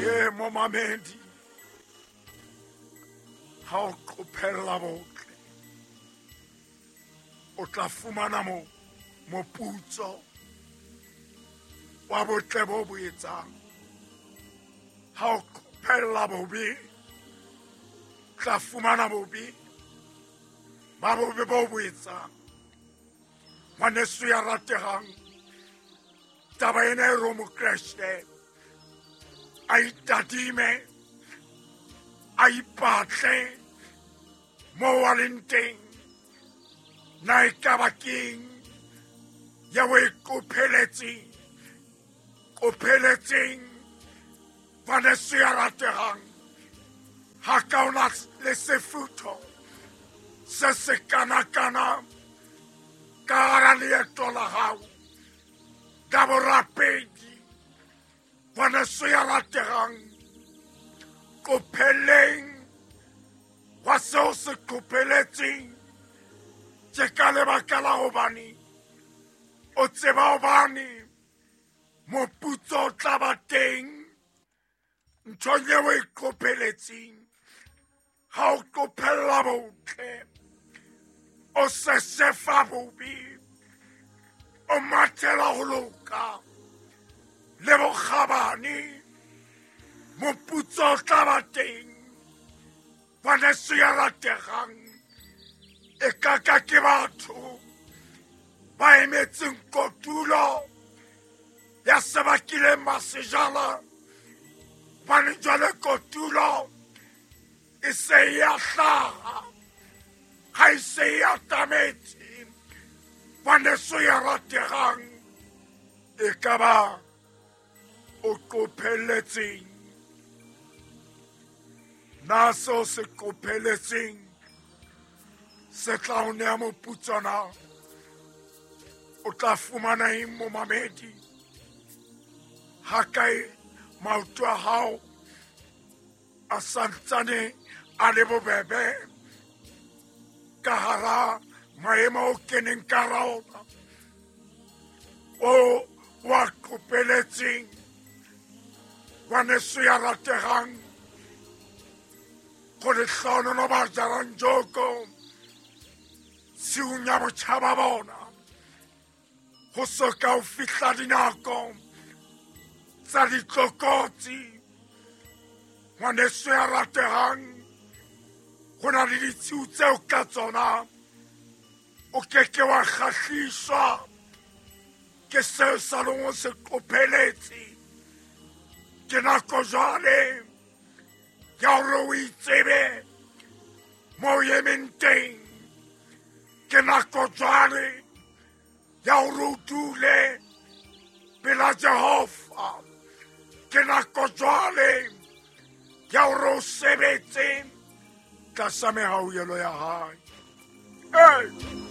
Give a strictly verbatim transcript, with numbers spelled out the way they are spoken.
Ye momamedi, ha o qophella botle, o tla fumana mo moputso wa botle bo bo etsang. Ha o qophella bobe, tla fumana bobe ba bobe bo bo etsang. Ngwaneso ya rategang, taba ena e re Mokreste a itadime, a ipatle mo a leng teng. Na e ka ba keng ya o e qopheletseng, qopheletseng ngwaneso ya rategang? Ha ka ona le sefutho se se kana-kana ka hara leeto la hao ka borapedi. Ngwaneso ya rategang, qopheleng wa seo se qopheletseng tje ka lebaka la hobane o tseba hobane moputso o tla ba teng nthong eo o e qopheletseng. Ha o qophella botle, o sesefa bobe, o mathela ho loka le bokgabane, moputso o tla ba teng. Ngwaneso ya rategang, e ka ka ke batho ba emetseng kotulo ya se ba kileng ba se jala, hobane jwale kotulo e se e a hlaha, ha e se e atametse. Ngwaneso ya rategang, e ka ba o qopheletseng? Na seo se qopheletseng se tla o nea moputso na? O tla fumana eng momamedi? Ha kae maoto a hao a santsane a le bobebe ka hara maemo o keneng ka hara ona, o wa qopheletseng? Ngwaneso ya rategang, go lehlohonolo ba jarang joko tshiung ya botjha ba bona, ho so ka o fihla dinako tsa ditlokotsi. Ngwaneso ya rategang, ho na le ditshiu tseo ka tsona o ke ke wa kgahliswa ke seo sa leng o se qopheletse. Ke nako jwale ya hore o itsebe mo o emeng teng. Ke nako jwale ya hore o dule pela Jehova. Ke nako jwale ya hore o sebetse tlasa mehauhelo ya hae. Hey!